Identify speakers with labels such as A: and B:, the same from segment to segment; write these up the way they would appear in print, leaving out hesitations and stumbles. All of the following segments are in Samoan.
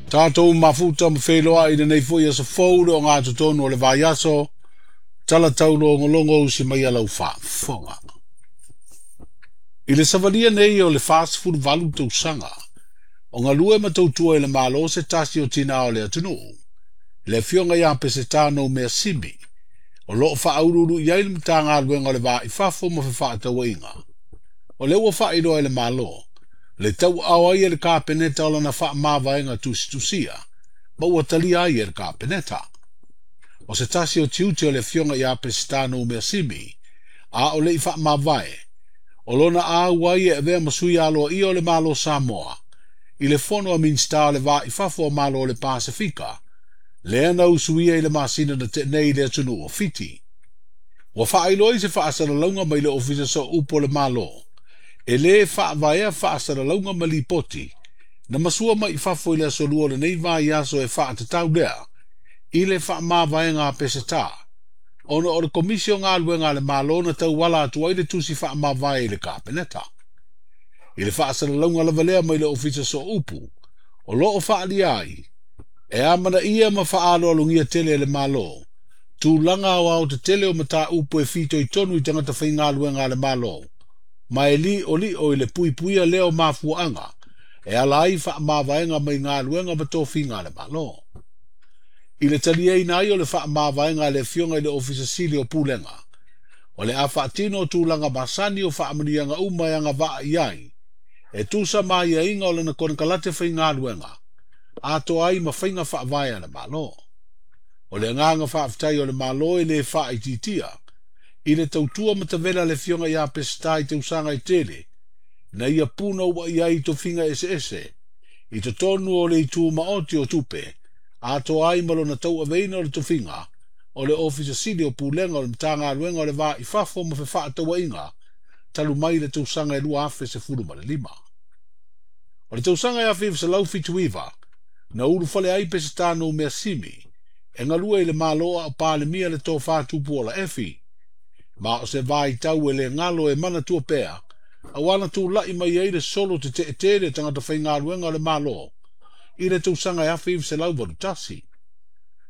A: Tatou mafuta ma feiloai i lenei foi aso fou le ogatotonu o le vaiaso, tala taulogologo usi mai a lau faafofoga. I le savalia nei o le 48 tausaga, o galue ma tautua i le Malo se tasi o tinā o le atunuu, le afioga ia Peseta Noumea Simi, o loo faauluulu i ai le Matagaluega o le Va i Fafo ma Fefaatauaiga. O lea ua faailoa e le Malo, le tauaao ai e le Kapeneta o lana faamavaega tusitusia, ma ua talia ai e le Kapeneta. O se tasi o tiute o le afioga ia Peseta Noumea Simi, a o le i faamavae, o lona auai e avea ma sui aloaia o le Malo Samoa, i le fono a Minisita o le Va i Fafo o Malo o le Pasefika, lea na usuia i le masina na tea nei i le atunuu o Fiti. Ua faailoa i se faasalalauga mai le Ofisa Sooupu o le Malo, e lē faavaea faasalalauga ma lipoti, na masua mai i fafo i le aso lua o lenei vaiaso e faatatau lea i le faamavaega a Peseta, ona o le Komisi o Galuega a le Malo na tauala atu ai le tusi faamavae i le Kapeneta. I le faasalalauga lava lea mai le Ofisa Sooupu, o loo faaalia ai, e amanaia ma faaaloalogia tele e le Malo, tulaga aoao tetele o mataupu e fitoitonu i tagata faigaluega a le Malo, ma e li'oli'o i le puipuia lea o mafuaaga e ala ai faamavaega mai galuega ma tofiga a le Malo. I le taliaina ai o le faamavaega a le afioga i le Ofisa Sili o Pulega, o le a faatino tulaga masani o faamanuiaga uma e agavaa i ai, e tusa ma aiaiga o lana konekarate faigaluega, atoa ai ma faiga faavae a le Malo. O le agaga faafetai o le Malo e lē faaitiitia, i le tautua matavela le afioga ia Peseta i tausaga e tele, na ia punouai ai i tofiga eseese, i totonu o le itu maoti o tupe, atoa ai ma lona tauaveina o le tofiga, o le Ofisa Sili o Pulega o le Matagaluega o le Va i Fafo ma Fefaatauaiga, talu mai le tausaga e 2015. O le tausaga e 1979, na ulufale ai Peseta Noumea Simi, e galue i le Malo a o Palemia le tofa Tupuola Efi. Ma o se vaitau e le galo e manatua pea, auā na tula'i mai ai le solo tete'e tele tagata faigaluega o le Malo, i le tausaga e 1981.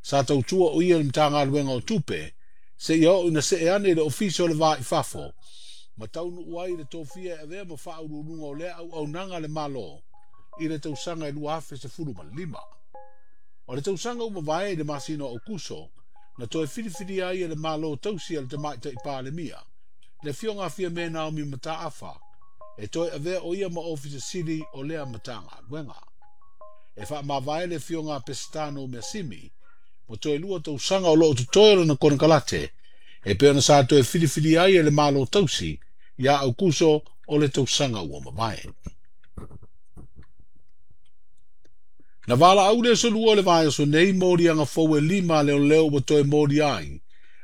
A: Sa tautua o ia i le Matagaluega o Tupe, seia oo ina see ane i le Ofisa o le Va i Fafo, ma taunuu ai i le tofia e avea ma faauluuluga o lea auaunaga a le Malo, i le tausaga e 2015. O le tausaga ua mavae i le masina o Aokuso, na toe filifilia ai e le Malo tausi a le Tamaitai Palemia, le afioga a Fiame Naomi Mataafa, e toe avea o ia ma Ofisa Sili o lea Matagaluega. E faamavae le afioga a Peseta Noumea Simi, ma toe 2 tausaga o loo totoe o lona konekarate, e pei ona sa toe filifilia ai e le Malo tausi, ia Aokuso o le tausaga ua mavae. Na valaau le aso lua o le vaiaso nei moliaga fou e 5 a leoleo ua toe molia ai,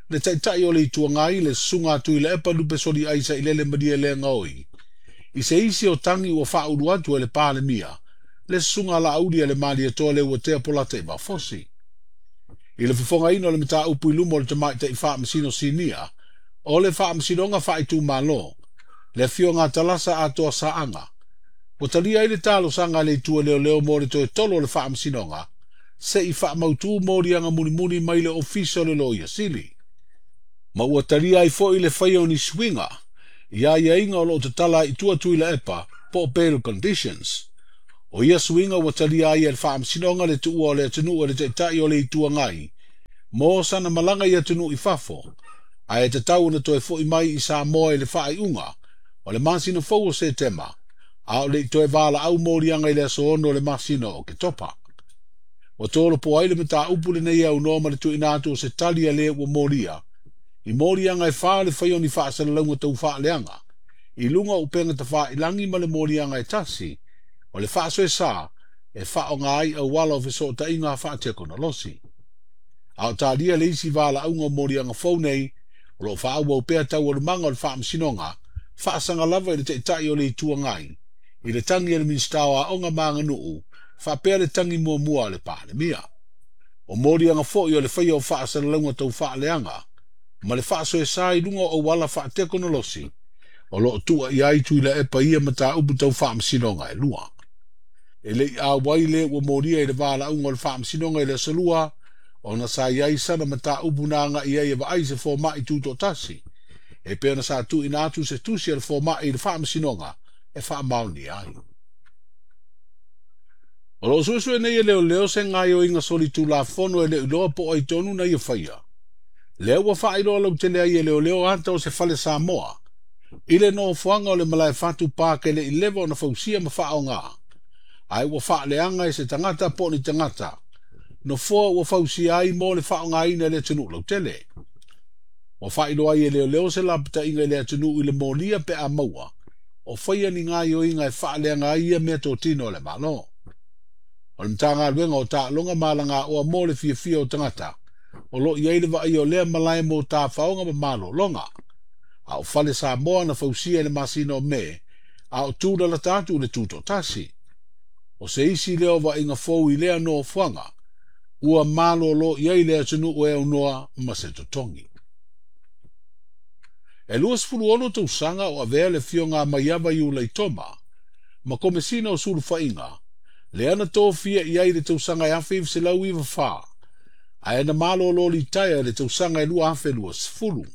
A: le taitai o le Itu Agai le susuga a Tuilaepa Lupesoli Sailele Malielegaoi, i se isi o tagi ua faaulu atu e le Palemia, le susuga a Laauli a le Malietoa Leuatea Polata Fosi. I le fofogaina o le mataupu i luma o le Tamaitai Faamasino Sinia, o le Faamasinoga Faaitumalo, le afioga a Talasa Atoa Saaga, ua talia ai le talosaga a le itu a leoleo mo le toe tolo o le Faamasinoga, se i faamautū moliaga mulimuli mai le Ofisa o le Loia Sili. Ma ua talia ai foi le faia o ni suiga, i aiaiga o loo tatala ai i tua Tuilaepa, po o bail conditions. O ia suiga ua talia ai e le Faamasinoga le tuua o le atunuu e le taitai o le Itu Agai, mo sana malaga i atunuu i fafo, ae tatau ona toe fo'i mai i Samoa i le faaiuga o le masina fou o Setema, a o le i toe valaau moliaga i le aso 6 o le masina o Oketopa. Ua tolopo ai le mataupu lenei aunoa ma le tuuina atu o se tali a le ua molia, i moliaga e 4 le faia o ni faasalalauga taufaaleaga, i luga o upega tafailagi ma le moliaga e 1, o le faasoesa e faaaoga ai auala o fesootaiga faatekonolosi. A o talia le isi valaauga o moliaga fou nei, o loo faaauau pea taualumaga o le Faamasinoga, faasaga lava i le taitai o le Itu Agai, i le tagi a le Minisita o Aoga ma Aganuu, faapea le tagi muamua a le Palemia. O moliaga foi o le faia o faasalalauga taufaaleaga, ma le faasoesa i luga o auala faatekonolosi, o loo tua i ai Tuilaepa ia mataupu tau Faamasinoga e 2. E le i auai le ua molia i le valaauga o le Faamasinoga i le Aso Lua, ona sa i ai sana mataupu na agai ai e vaai se fomai tutoatasi, e pei ona sa tuuina atu se tusi a le fomai i le Faamasinoga e faamaonia ai. O lo o suesue nei e leoleo se gaoioiga solitulafono e le o iloa po o ai tonu na ia faia. Lea ua faailoa lautele ai e leoleo ata o se fale Samoa i le nofoaga o le Malaefatu Park e le i leva ona fausia ma faaaoga, ae ua faaleaga e se tagata po o ni tagata nofoa ua fausia ai mo le faaaogaina e le atunuu lautele. Ua faailoa ai e leoleo se lapataiga i le atunuu i le molia pe a maua o faia ni gaoioiga e faaleaga ai ia meatotino a le Malo. O le Matagaluega o Taaloga ma Alagaoa mo le fiafia o tagata o lo o i ai le vaaia o lea malae mo tafaoga ma malologa. A o fale Samoa na fausia i le masina o Me, a o tūlalata atu i le tutoatasi. O se isi lea o vaaiga fou i lea nofoaga, ua malolo i ai le atunuu e aunoa ma se totogi. E 26 tausaga o avea le afioga a Maiava Iulaitoma ma Komesina o Sulufaiga, lea na tofia i ai i le tausaga e 1994, ae na malolo litaea i le tausaga e 2020.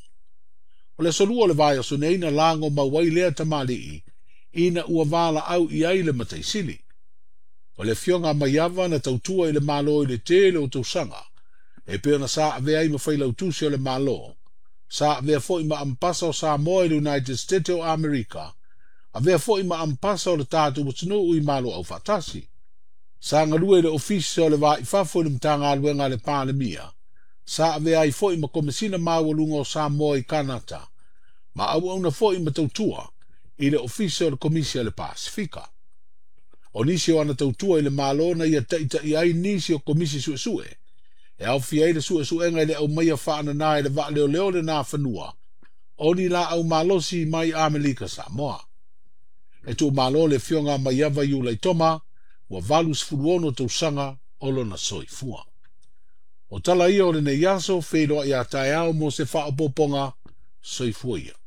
A: O le aso Lua o le vaiaso nei na lago mau ai lea tamalii ina ua valaau i ai le Mataisili. O le afioga a Maiava na tautua i le Malo i le tele o tausaga, e pei ona sa avea ai ma failautusi o le Malo, sa avea foi ma Ambasa o Samoa i le United States o Amerika, avea foi ma Ambasa o le tatou atunuu i Malo Aufaatasi. Sa galue i le Ofisa o le Va i Fafo i le Matagaluega a le Palemia, sa avea ai foi ma Komesina Maualuga o Samoa i Kanata, ma auauna foi ma tautua i le Ofisa o le Komisi a le Pasefika. O nisi o ana tautua i le Malo na ia taitaia ai nisi o Komisi Suesue, e aofia ai le suesuega i le aumaia faanana e le vaaleoleo le Nafanua o ni laau malosi mai Amerika Samoa. E tuumalo le afioga a Maiava Iulaitoma, ua 86 tausaga o lona soifua. O tala ia o lenei aso, feiloai a taeao mo se faaopoopoga, soifua ia.